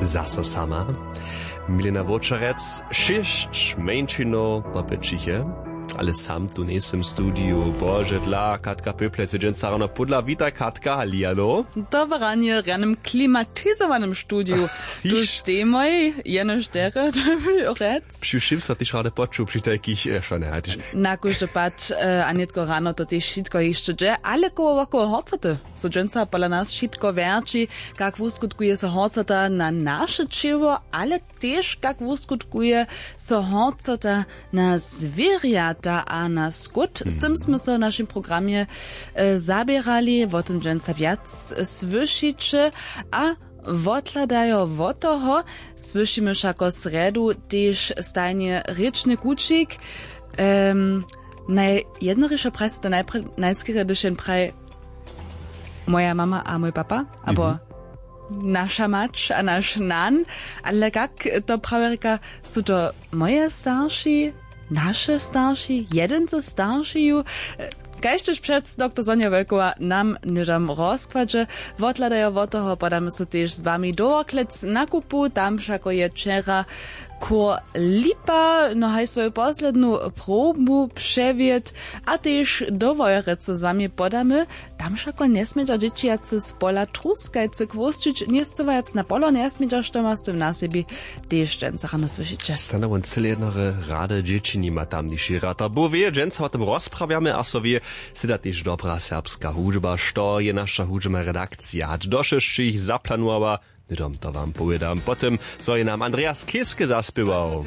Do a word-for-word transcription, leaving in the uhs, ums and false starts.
Zaso sama. Milena Wowčarec, šěsć mjeńšinow popytřiche, ale sam tu njejsym w studiju. Bože dla, Katka Pěplec je dźensa rano pódla. Witaj, Katka, hallihallo. Dobre ranje w rjanym klimatizowanym studiju. Tu Hiš. Stemoj, jenož derje, to by rjec. Při wšěm so tež rady počuł při tajkich, e, šone, hajtiš. Na kóždy pad, e, a nětko rano to tež wšitko hišće dźe, ale koło wokoło horcoty so dźensa pola nas wšitko wjerći, kak wuskutkuje so horcota na naše ćěło, ale tež kak wuskutkuje so horcota na zwěrjata a na skót. Z tym smy so w našim programje, e, zaběrali, wo tym dźensa wjac słyšiće. A wotladajo wot toho słyšimy wšako srjedu tež stajnje rěčny kućik. Em, naj-, jednorišo prajse to najpr-, najskerje, hdyž jen praji moja mama a mój papa, abo naša mać a naš nan, ale kak to prawje rěka, su to moje starši, naše starši, jedyn ze staršiju? Kaž tež před doktor Sonja Wojkowa nam hnydom w rozkładźe. Wotladajo wot toho podamy so tež z wami do Worklec na kupu, tam wšako je wčera chór Lipa, no haj swoju poslednu probu přewjedł, a tež do Wojerecy z wami podamy. Tam wšako njesmědźa dźěći wjace z pola Truskajcy chłósćić, njescywajac na polo njesmědźa, što ma z tym na sebi, tež dźensa rano słyšiće. Stanowo cyle jednore rady dźěći nima tamniši ratar. Bo wě, dźensa wo tym rozprawjamy a so wě, syda tež dobra serbska hudźba, što je naša hudźbna redakcija hač do šesćich zaplanowała. Hnydom to wam powědam po tym, zo je nam Andreas Keske zaspěwał.